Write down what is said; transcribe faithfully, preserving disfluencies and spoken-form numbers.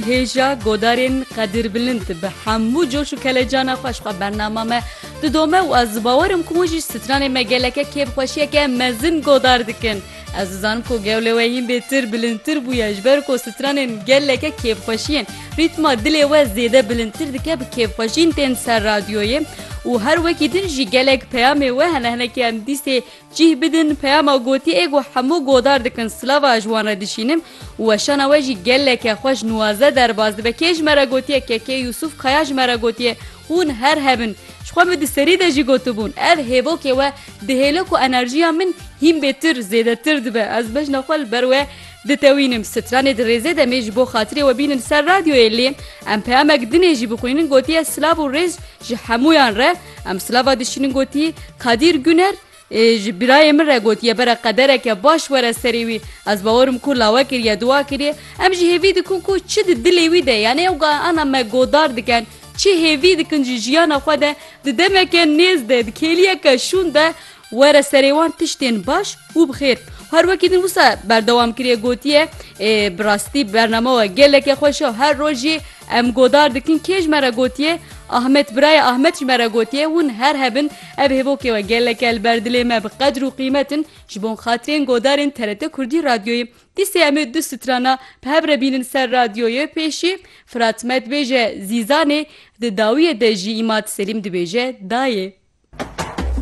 Hêja godarên qedirbilind bi hemû coş û kelecana xwe ji xwe bernama me didome û ez bawer im ku hûn jî stranê me geleke kêfxweşiyeke mezin godar dikin. Ez dizanim ku gewle we hîn bêtir, bilindtir bûye, ji ber ku stranên geleke kêfxweşiyên rîtma dilê we zêde bilindtir dike, bi kêfxweşîn tên ser radyoyê û her wekî din jî gelek peyamê we hene, hinekî em dîsê cih bidin peyama gotiyê ê ku hemû godar dikin, silava ji wan re dişînim û weşana we jî geleke xweş nuwaze derbas dibe. Kê ji me re gotiye? Kekê Yusuf Kaya ji me re gotiye, hûn her hebin. Ji xwe min di serî de jî gotibûn, ev hêvokê we dihêle ku enerjiya min hîn bêtir, zêdetir dibe. Ez bejna xwe li ber we ditewînim. Stranê di rêzê de em ê ji bo xatirê we bînin ser radyoyê, lê em peyamek dinê jî bixwînin. Gotiye, silav û rêz ji hemûyan re. Em silava dişînin, gotî Kadîr Güner, ê, ji birayê min re gotiye, bere qedereke baş were serê wî. Ez bawer im ku lawe kiriye, dua kiriye. Em jî hêvî dikin ku çi di dilê wî de, yanî ew ga ana me godar dikin, çi hêvî dikin ji jiyana xwe de, di demeke nêz de, di kêliyeke şûn de were serê wan tiştên baş û bi xêr. Her wekî din wisa berdewam kiriye, gotiye, ê, bi rastî bernama we geleke xweş e. Her roj jî em godar dikin. Kê ji me re gotiye? Ahmet, birayê Ahmet ji me re gotiye, hûn her hebin. Ev hêvokê we geleke li ber dilê me bi qedr û qîmet in. Ji bo xatirên godarên T R T Kurdî Radyoyê. Dîsê em ê du strana bi hev re bînin ser radyoyê. Pêşî Firat Me dibêje Zîzanê, di dawiyê de jî Îmad Selîm dibêje Dayê.